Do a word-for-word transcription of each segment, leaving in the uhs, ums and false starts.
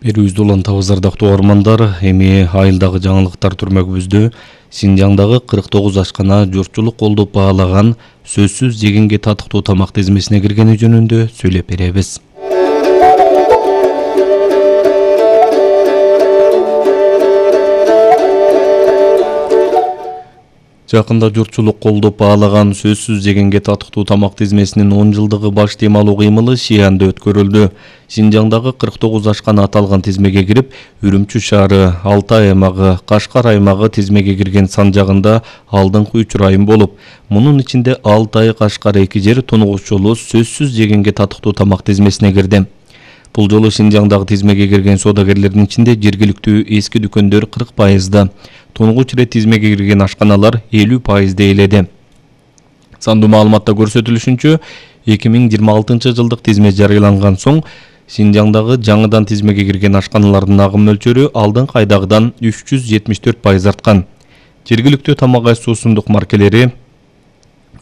Берүүбүздү улантабыз ардактуу угармандар. Эми айылдагы жаңылыктар түрмөгүбүздө Синжаңдагы кырк тогуз ашкана журтчулук колдоп баалаган сөзсүз жегенге татыктуу тамак тизмесине киргени жөнүндө сүйлөп беребиз. Жакында журтчулук колдоп баалаган сөзсүз жегенге татыктуу тамак тизмесинин он жылдыгы баш темалуу кыймылы Шианда өткөрүлдү. Синжаңдагы кырк тогуз ашкана аталган тизмеге кирип, Үрүмчү шаары, Алтай аймагы, Кашкар аймагы тизмеге кирген сан жагында алдыңкы үч район болуп, мунун ичинде Алтай, Кашкар эки жер тунугуч жолу сөзсүз жегенге татыктуу тамак тизмесине кирди. Бул жолу Синжаңдагы тизмеге кирген содагерлердин ичинде жергиликтүү эски дүкөндөр кырк пайызда, тунугуч ирет тизмеге кирген ашканалар элүү пайызда ээледи. Сандуу маалыматта көрсөтүлүшүнчө, эки миң жыйырма алтынчы жылдык тизме жарыяланган соң Синжаңдагы жаңыдан тизмеге кирген ашканалардын агым мөлчөрү алдыңкы айдагыдан үч жүз жетимиш төрт пайыз арткан. Жергиликтүү тамак аш суусундук маркелери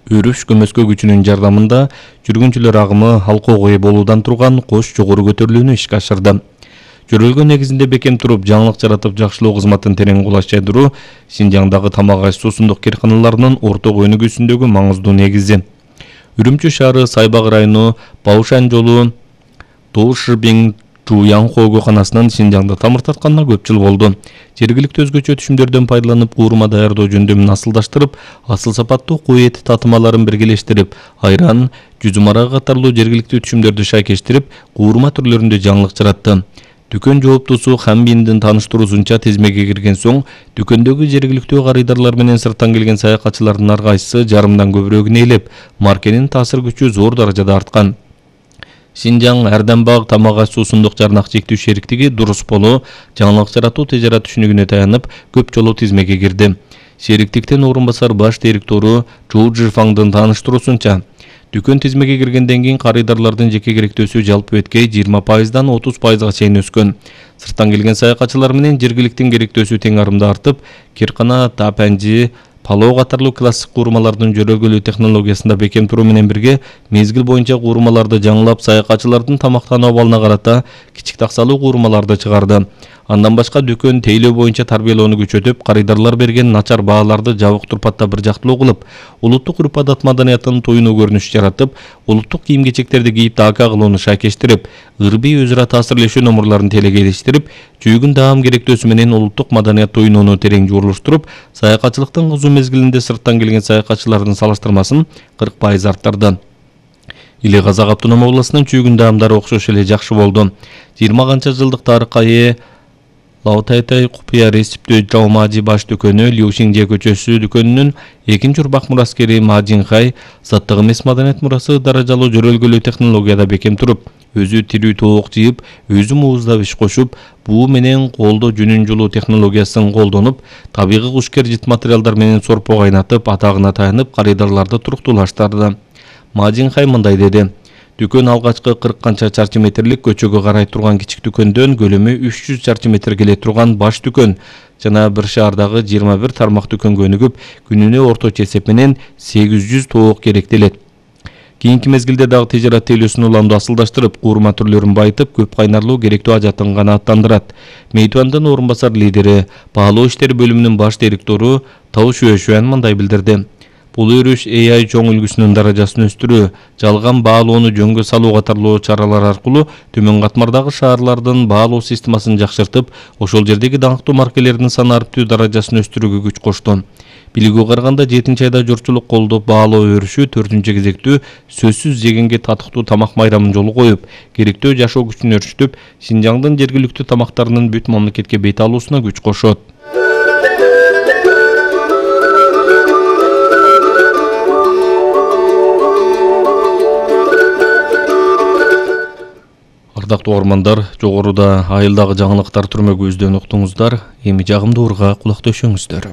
өрүш көмөскө күчүнүн жардамында жүргүнчүлөр агымы алкоого ээ болуудан турган кош жогору көтөрүлүүнү ишке ашырды. Жөрөлгөн негизинде бекем туруп, жаңылык жаратып жакшылоо кызматын терең кулаш жайдыруу Синжаңдагы тамак аш суусундук керканаларынын орток өнүгүүсүндөгү маңыздуу негизи. Үрүмчү шаары Сайбак району Баушан жолу Тоушибин Жуянхо ооканасынын Синжаңда тамыр тартканына көп жыл болду. Жергиликтүү өзгөчө түшүмдөрдөн пайдаланып, куурма даярдоо жөндөмүн асылдаштырып, асыл сапаттуу кой эти татымаларын биргелештирип, айран, жүзүм арагы катарлуу жергиликтүү түшүмдөрдү шайкештирип, куурма түрлөрүндө жаңылык жаратты. Дүкөн жооптусу Хамбиндин тааныштыруусунча тизмеге кирген соң, дүкөндөгү жергиликтүү карыдарлар менен сырттан келген саякатчылардын ар кайсысы жарымдан көбүрөөгүн ээлеп, маркенин таасир күчү зор даражада арткан. Синжаң Ардамбаг тамак аш суусундук жарнак чектүү шериктиги дурус болуу, жаңылык жаратуу тежарат түшүнүгүнө таянып, көп жолу тизмеге кирди. Шериктиктен орун басар баш директору Чжоу Жифаңдын тааныштыруусунча, дүкөн тизмеге киргенден кийин карыдарлардын жеке керектөөсү жалпы беткей жыйырма пайыздан отуз пайызга чейин өскөн. Сырттан келген саякатчылар менен жергиликтин керектөөсү тең арымда артып, киркана, тапанжи, палоо катарлуу классик куурмалардын жөрөлгөлүү технологиясында бекем туруу менен бирге, мезгил боюнча куурмаларды жаңылап, саякатчылардын тамактануу абалына карата кичик таксалуу куурмаларды чыгарды. Андан башка дүкөн тейлөө боюнча тарбиялоону күчөтүп, карыдарлар берген начар бааларды жабык турпатта бир жактылуу кылып, улуттук урп-адат маданиятын тоюнуу көрүнүш жаратып, улуттук кийим-кечектерди кийип дака кылууну шайкештирип, ырбий өзара таасирлешүү номурларын телекелештирип, чүйгүн даам керектөөсү менен улуттук маданият тоюнууну терең жуурулуштуруп, саякатчылыктын кызуу мезгилинде сырттан келген саякатчылардын салыштырмасын кырк пайыз арттырды. Иле Казак автономия областынын чүйгүн даамдары окшош эле жакшы болду. жыйырма канча жылдык тарыхка ээ Лаутайтай купуя ресиптөө Жаумажи баш дүкөнү Лиушиңже көчөсү дүкөнүнүн экинчи урбак мураскери Мажинхай заттык эмес маданият мурасы даражалуу жөрөлгөлүү технологияда бекем туруп, өзү тирүү тоок жыйып, өзү мууздап иш кошуп, буу менен колдо жүнүн жулуу технологиясын колдонуп, табигый кушкер жыт материалдар менен сорпо кайнатып, атагына таянып, карыдарларды туруктуулаштырды. Мажинхай мындай деди: Дүкөн алгачкы кырк канча чарчы метрлик көчөгө карай турган кичик дүкөндөн көлөмү үч жүз чарчы метр келе турган баш дүкөн жана бир шаардагы жыйырма бир тармак дүкөнгө өнүгүп, күнүнө орточо эсеп менен сегиз жүз тоок керектелет. Кийинки мезгилде дагы тежарат тейлөөсүн уламдуу асылдаштырып, куурма түрлөрүн байытып, көп кайнарлуу керектүү ажатын канааттандырат. Мейтуандын орун басар лидери, баалоо иштери бөлүмүнүн баш директору Тау Шуэшуан мындай билдирди: Бул өрүш эй ай чоң үлгүсүнүн даражасын өстүрүү, жалган баалоону жөнгө салуу катарлуу чаралар аркылуу төмөн катмардагы шаарлардын баалоо системасын жакшыртып, ошол жердеги даңктуу маркелердин сан арттуу даражасын өстүрүүгө күч кошту. Билүүгө караганда жетинчи айда журтчулук колдоп баалоо өрүшү төртүнчү кезектүү сөзсүз жегенге татыктуу тамак майрамын жолу коюп, керектөө жашоо күчүн өрчүтүп, Синжаңдын жергиликтүү тамактарынын бүт мамлекетке бет алуусуна күч кошот. Ардактуу угармандар, жогоруда айылдагы жаңылыктар түрмөгүбүздөн уктуңуздар. Эми жагымдуу урга кулак төшөңүздөр.